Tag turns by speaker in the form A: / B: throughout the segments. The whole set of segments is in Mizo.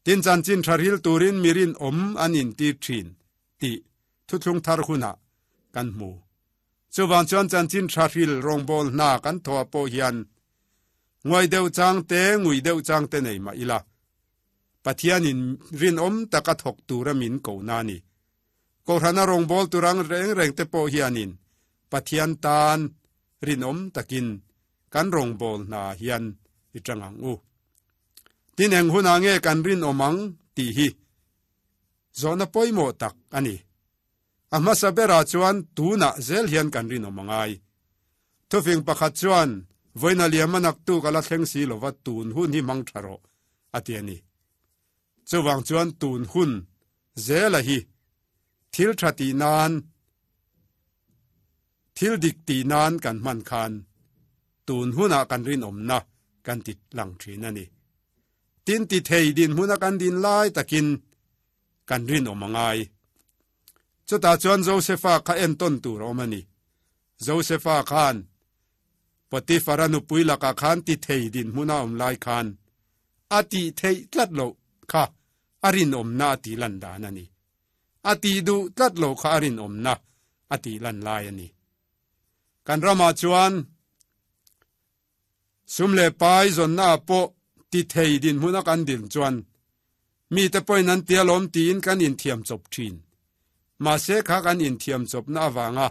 A: Tin chanchin tha ril turin mi rinawm an intir thin tih thuthlung thar hunah kan hmu. Chuvang chuan chanchin tha hril rawngbâwl hna kan thawh pawh hian nguai deuh chang te, ngui deuh chang te nei mah ila, Pathianin rinawm taka thawk tura min kohna a ni. Kohhrana rawngbâwl tur ang reng reng te pawh hianin Pathian tan rinawm takin kan rawngbâwl hna hian i ṭang ang u. Tin eng hunah nge kan rinawm ang tih hi zawhna pawimawh tak a ni. A hmasa berah chuan tunah zel hian kan rinawm a ngai. Thufing pakhat chuan, Vawiina liam a naktu ka la thleng si lova tun hun hi hmang tha rawh, a ti a ni. Chuvang chuan tun hun zela hi thil tha tih nan, thil dik tih nan kan hman khan tun hunah kan rinawmna kan ti lang thin a ni. Tin ti thei dinhmuna kan din lai takin kan rinawm a ngai. Chutah chuan Josefa kha entawn tur a awm a ni. Josefa khan Potifara nupui lakah khan ti thei dinhmun a awm lai khan a tih theih tlat loh kha a rinawmna a tih lan dan a ni. A tih duh tlat loh kha a rinawmna a tih lan lai a ni. Kan ramah chuan Sum leh pai zawnnaah pawh ti thei dinhmuna kan din chuan mite pawhin an tia lawm tiin kan inthiam chawp thin. Mahse kha kan inthiam chawpna avanga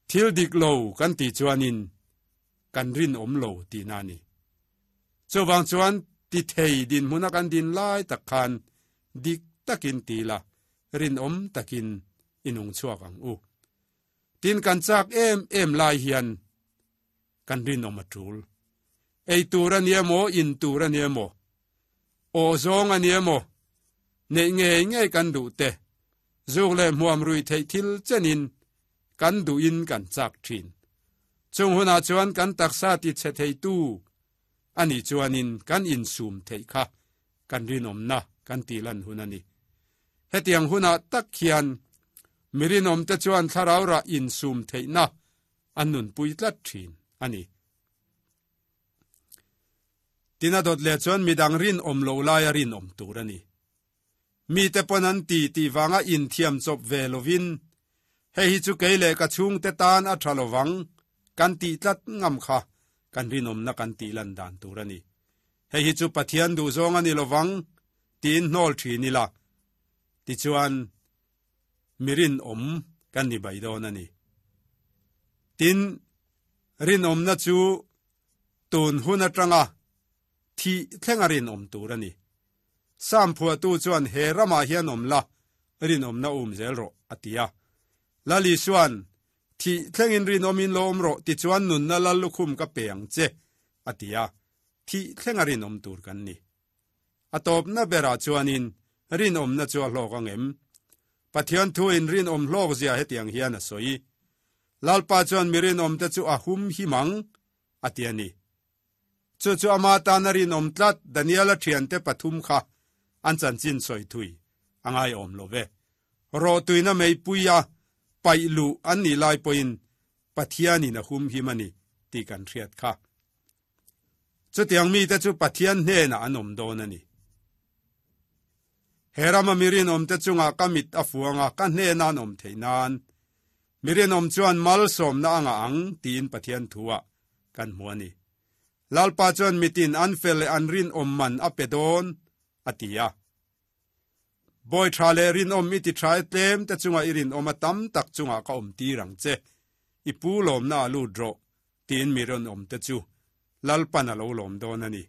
A: thil dik lo kan tih chuanin kan rinawm lo tihna a ni. Chuvang chuan ti thei dinhmuna kan din lai tak khan dik takin ti la, rinawm takin i nung chhuak ang u. Tin kan chak em em lai hian kan rinawm a tul. Ei tur a nia maw, in tur a nia maw, aw zawng a nia maw, neih ngei ngei kan duh te, zuk leh hmuam rui theih thil chenin kan duhin kan chak thin. Chung hunah chuan kan taksa ti chhe theitu a nih chuanin kan insum theih kha kan rinawmna kan tihlan hun a ni. Hetiang hunah tak hian mi rinawmte chuan thlarau rah insum theihna an nunpui tlat thin a ni. Tin a dawt leh chuan midang rinawm lo laia rinawm tur a ni. Mite pawn an ti tih vanga inthiam chawp ve lovin, Hei hi chu kei leh ka chhungte tan a tha lovang kan tih tlat ngam kha kan rinawmna kan tih lan dan tur a ni. Hei hi chu Pathian duhzawng a ni lovang tiin hnawl thin ila, tichuan mi rinawm kan ni bai dawn a ni. Tin, rinawmna chu tun hun atanga thih thlenga rinawm tur a ni. Sam phuahtu chuan he ramah hian awm la, rinawmna um zel rawh, a ti a. Lal Isua'n, Thih thlengin rinawmin lo awm rawh, tichuan nunna lal lukhum ka pe ang che, a ti a. Thih thlenga rinawm tur kan ni. A tawpna berah chuanin rinawmna chu a hlawk ang em? Pathian thuin rinawm hlawkzia hetiang hian a sawi, Lalpa chuan mi rinawmte chu a hum him ang, a ti a ni. Chu chu ama tana rinawm tlat Daniela thiante pathum kha an chanchin sawi thui a ngaiawm lo ve. Rawhtuina meipuia paih luh an nih lai pawhin Pathianin a humhim a ni tih kan hriat kha. Chutiang mite chu Pathian hnenah an awm dawn a ni. He rama mi rinawmte chungah ka mit a fuang a, ka hnena an awm theih nan mi rinawm chuan malsawmna a ngah ang tiin Pathian thuah kan hmu a ni. Lalpa chuan mitin an fel leh an rinawm man a pe dawn, a ti a. Bawi tha leh rinawm i ti tha e tlem te chunga i rinawm a tam tak chungah ka awm tir ang che. I pu lawmna a lut rawh, tiin mi rinawm te chu Lalpan a lo lawm dawn a ni.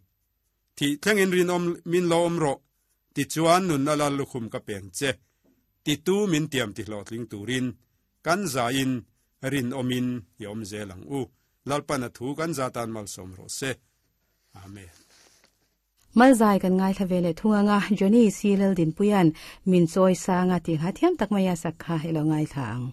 A: Thih thlengin rinawm min lo awm rawh, tichuan nunna lal lukhum ka peng che. Titu min tiam ti hlawhtling turin kan zain rinawmin i awm zel ang u. Lalpan a thu kan za tan malsawm rawh se. Amen.
B: Malzai kan ngaithla ve leh thung anga Johnny C Laldinpuia'n min chawi sanga tih ngha thiam tak mai a sak kha i lo ngaithla ang.